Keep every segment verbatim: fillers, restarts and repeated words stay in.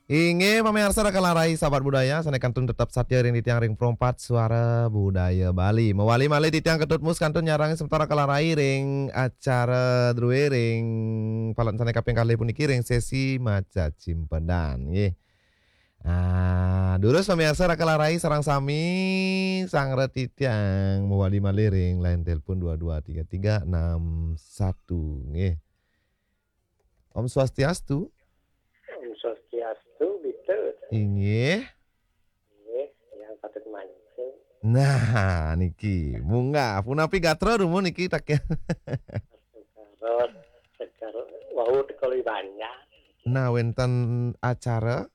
Inggih, pamiarsa Raka Larai, sahabat budaya, sané kantun tetep satia ring titiang ring Pro empat Suara Budaya Bali. Mawali malih titiang Ketut Mus kantun nyarengin semeton Raka Larai ring acara drué ring paletan sané kaping kalih puniki ring sesi maca cimpedan, nggih. Ah, durus pamiarsa Raka Larai sareng sami sanggra titiang mawali malih ring line telepon dua dua tiga tiga enam satu, nggih. Om Swastiastu. Om Swastiastu, Bita. Inggih. Inggih, yang patut mancing. Nah, niki, munggah. Punapi gatra dumun niki, tak ya? Segar, segar, wau teka uli banjar. Nah, wénten acara?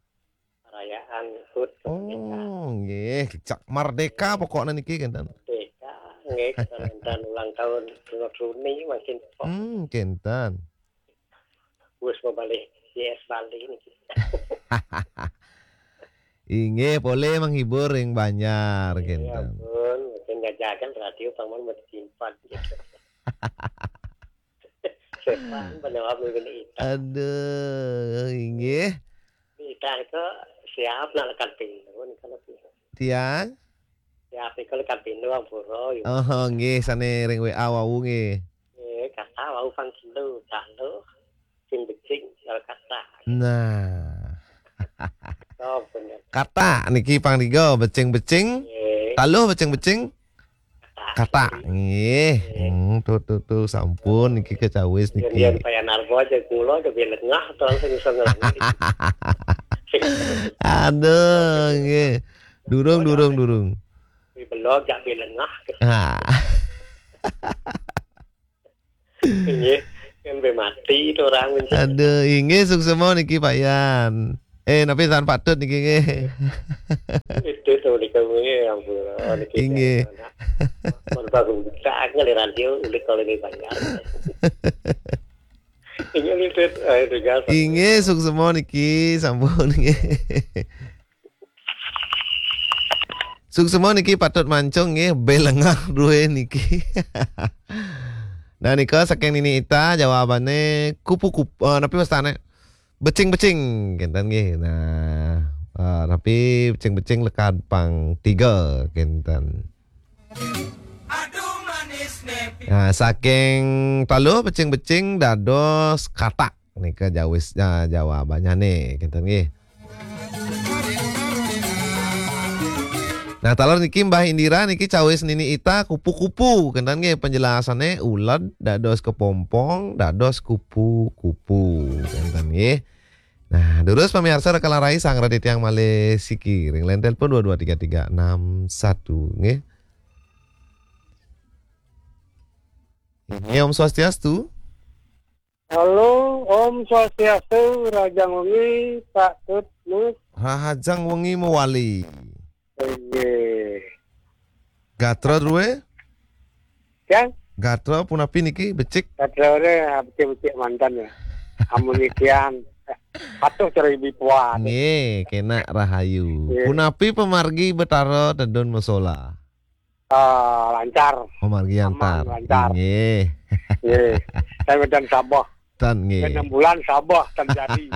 Perayaan hut kemerdekaan. Oh, nggih, cak merdeka pokoknya niki, kénten. Merdeka, nggih, kita wénten ulang tahun Gunung Suni, makin pokok. Hmm, kénten. Wis mabalih Y S Bali niki. Inggih, polih menghibur ring banjar, ya kénten. Ampun, mungkin ngajakan radio paman mesti simpan gitu. Simpan penjawab mungkin itu. Aduh, inggih. Kita itu siap nak lekat pintu, nih kalau pintu. Tiang? Siap itu lekat pintu, ampura, ya. Oh, nggih, sané ring W A wau nggih. Eh, kata wau kan kilo, kalo sing becing, kalau kata. Nah. Oh, bener. Kata niki pang tiga, becing-becing. Eh. Taluh becing-becing. Kata. Kata. Nggih. Eh. Hmm, tuh, tuh, tuh, sampun niki kecawis niki. Kemudian Pak Yanarbo aja kula lebih lengah, terus langsung bisa ngelangi. Aduh, nggih. Durung, durung, durung. Di belog jak lebih lengah. Ah. Nggih, kan be mati itu orang mencari. Aduh, inggih suksema niki Pak Yan. Eh, napi tan patut niki nggih. Itu tuh di kamu ya ampun. Oh, niki inggih. Anak. Mun baru buka ngeliran dia udah kalau ini banyak. Ini lihat, eh, itu gas. Inggih suksema niki sampun nggih. Suksema niki patut mancung nggih, belengah dué niki. Nah, nika saking Nini Ita jawabané kupu-kupu, eh, napi wastané? Becing-becing, kénten nggih. Nah, eh, napi becing-becing lekad pang tiga, kénten. Nah, saking taluh becing-becing dados katak. Nika jawis, ah, jawabannya nih, kénten nggih. Nah, taler niki Mbah Indira niki cawis Nini Ita kupu-kupu, kénten nggih penjelasannya uled dados kepompong, dados kupu-kupu, kénten nggih. Nah, durus pamiarsa Raka Larai sanggra titiang malih siki ring line telepon dua dua tiga tiga enam satu nggih. Inggih Om Swastiastu. Halo, Om Swastiastu, rahajeng wengi, Pak Tut Mus. Rahajeng wengi mawali. Inggih. Gatra drué? Tiang? Gatra punapi niki becik? Gatra ré, ah, becik-becik manten ya. Amun niki tiang, patuh cara ibu puan. Nggih, kénak rahayu. Nggih. Punapi pamargi Betara tedun masola? Ah, lancar. Pamargi antar. Aman, lancar. Inggih. Nggih. Saya medan Sabah. Tan nggih. Enam bulan Sabah terjadi.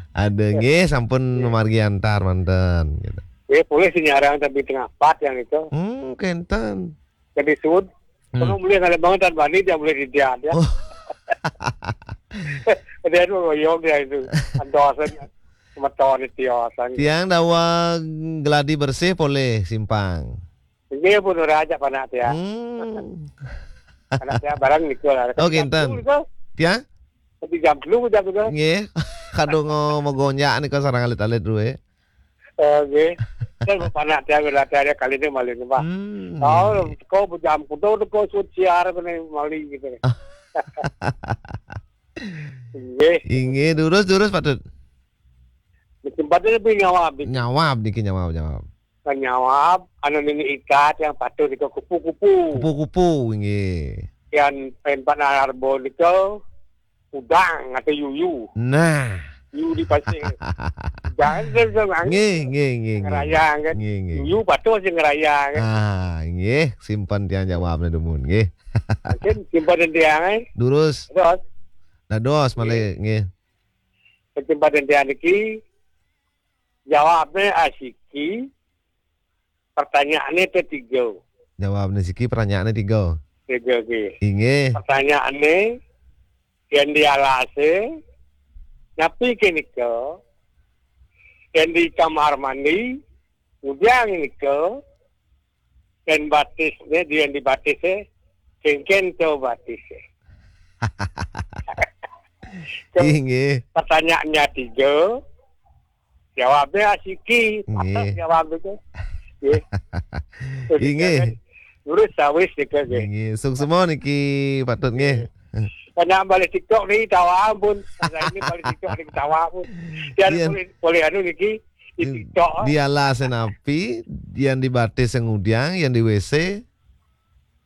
Ada nggih sampun pamargi antar manten gitu. Nggih, polih sing nyarang tapi tengah empat yang itu. Hmm, kénten. Jadi sud. Hmm. Kalau boleh ngalih banget dan bani dia boleh didian ya. Oh. Dia tuh royong dia itu. Andosan semeton itu ya. Tiang daweg gladi bersih polih simpang. Inggih pun ora ajak panak tiang. Hmm. Panak tiang bareng niku lah. Oh, kénten. Jam telu niku. Tiang? Tapi jam telu jam telu. Nggih. Kadung magonjak nika sareng alit-alit dué. Oh, nggih. Kan panak tiang ora ada kali ini malih, Pak. Hmm. Oh, teko jam kudu teko sud siar kene malih gitu. Nggih. Inggih, durus, durus, Pak Tut. Kesempatan lebih nyawab. Nyawab niki, nyawab, nyawab. Nyawab, anu Nini Ita yang patuh nika kupu-kupu. Kupu-kupu, inggih. Yang pen panak arbo nika udang atau yuyu. Nah. Yuyu di pasir. Jangan terus, Bang. Nggih, nggih, nggih, nggih. Ngerayang kan. Nggih, nggih. Yuyu patuh sing ngerayang kan. Ah, nggih, simpen tiang jawabnya dumun, nggih. Mungkin simpen tiang, eh. Durus. Terus. Dados malih, nggih. Kesempatan dia niki, jawabnya asiki, pertanyaannya tetiga. Jawabnya siki, pertanyaannya tiga. Tiga ki. Inggih. Pertanyaannya, yang di alase, napi ke nika, yang di kamar mandi, ngudiang nika, dan batisnya, yang di batisnya, kengken to batisnya. Inggih. Pertanyaannya tiga, jawabnya asiki. Inggih. Patut jawab itu. Nggih. Inggih. Lurus sawis nika, nggih. Inggih. Suksma niki patut, nggih. Karena balik TikTok ni tawa pun. Saya ini balik TikTok ni tawa pun. Dia boleh, boleh anu niki di TikTok. Di alase napi, yang di batis ngudiang, yang di WC.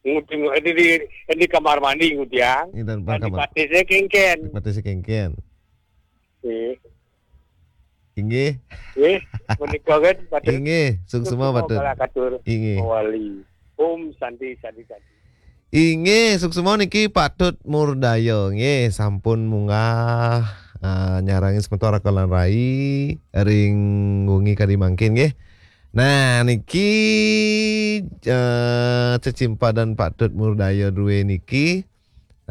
Ngudiang, di, di, di kamar mandi ngudiang. Di kamar mandi. Yang di batisnya kengken. Di batisnya kengken. Nggih. Inggih. Nggih, menika kan, Pak Tut. Inggih, suksma, Pak Tut. Suksma kala katur. Inggih. Mawali. Om Santi, Santi, Santi. Inggih, suksma niki Pak Tut Murdaya. Nggih, sampun munggah, ah, nyarangi semeton Raka lan Rai ring wengi kadi mangkin, nggih. Nah, niki, eh, cecimpedan Pak Tut Murdaya duwe niki.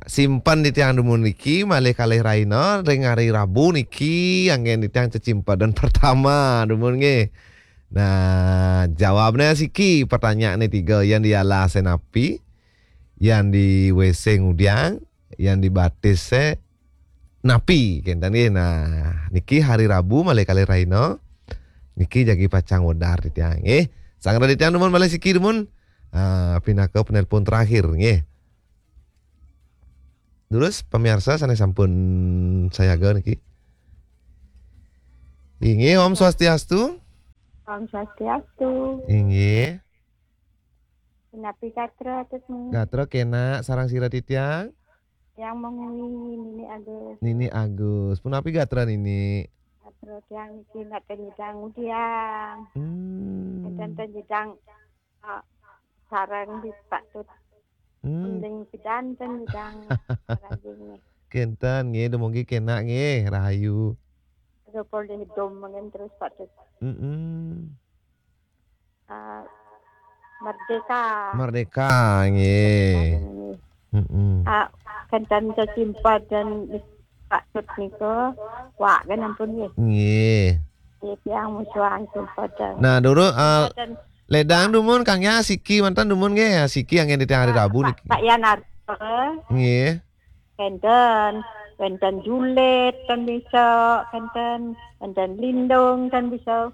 Simpen titiang dumun niki malih kalih rahina ring hari Rabu niki, anggen titiang cecimpedan pertama dumun nggih. Nah, jawabnya siki, pertanyaannya tiga, yang di alase napi, yang di WC ngudiang, yang di batis napi, kenten nggih. Nah, niki hari Rabu malih kalih rahina. Niki jagi pacang wedar titiang nggih. Sanggra titiang dumun malih siki dumun. Ah, pinaka penelpon terakhir nggih. Durus, pamiarsa sane sampun sayaga niki. Inggih, Om Swastiastu. Om Swastiastu. Inggih. Punapi gatra, Tut? Gatra kenak, sareng sira titiang? Yang mengui Nini Agus. Nini Agus. Punapi gatra, Nini? Gatra tiang niki nak nyidang ngudiang. Hmm. Enten nyidang, ah, sareng di Pak Tut. Hmm. Mending pidan ten nyidang sareng nggih. Kenten nggih, dumugi kenak nggih, rahayu. Ada polih dom mungkin terus Pak Tut. Mm-mm. Ah, Merdeka. Merdeka, nggih. Merdeka, nggih. Mm-mm. Ah, kenten cecimpedan Pak Tut nika, wak kan ampun nggih. Nggih. Nggih, tiang musuhan cecimpedan. Nah, dulu, ah, cecimpedan. Ledang dumun, Kang, ya, siki manten dumun nggih, ya, siki anggen titiang hari Rabu niki. Pak Yanarto. Nggih. Kenten, kenten Julit, kan bisa, kenten, kenten Lindung, kan bisa.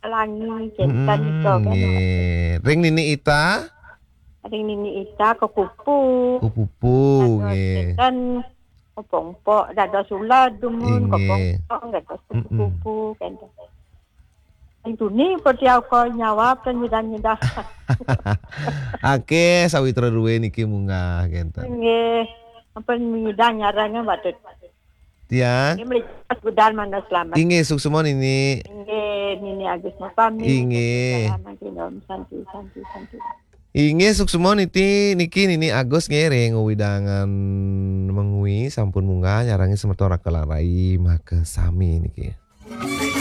Pelangi, kenten. Mm-mm, bisa, kan. Nggih. Ring Nini Ita? Ring Nini Ita, Kepupu. Kepupu, dados nggih. Kenten, Kopongpok, dados Sula dumun, inggih. Kopongpok, dados, mm-mm, Kepupu, kenten. Ring Tuni, poti aku nyawab, kan nyidang-nyidang. Akeh sawitra duwe niki munggah, kenten. Nggih. Ampun nyidang nyarang, Mbak Tut. Tiang. Nggih, mriki Mas Gudan, manah selamat. Inggih, suksma Nini. Inggih, Nini Agus Mupami. Inggih. Salam, Om Santi, Santi, Santi. Inggih, suksma niti, niki Nini Agus nggih, ring wewidangan Mengwi sampun munggah nyarangi semeton Raka lan Rai makasami niki.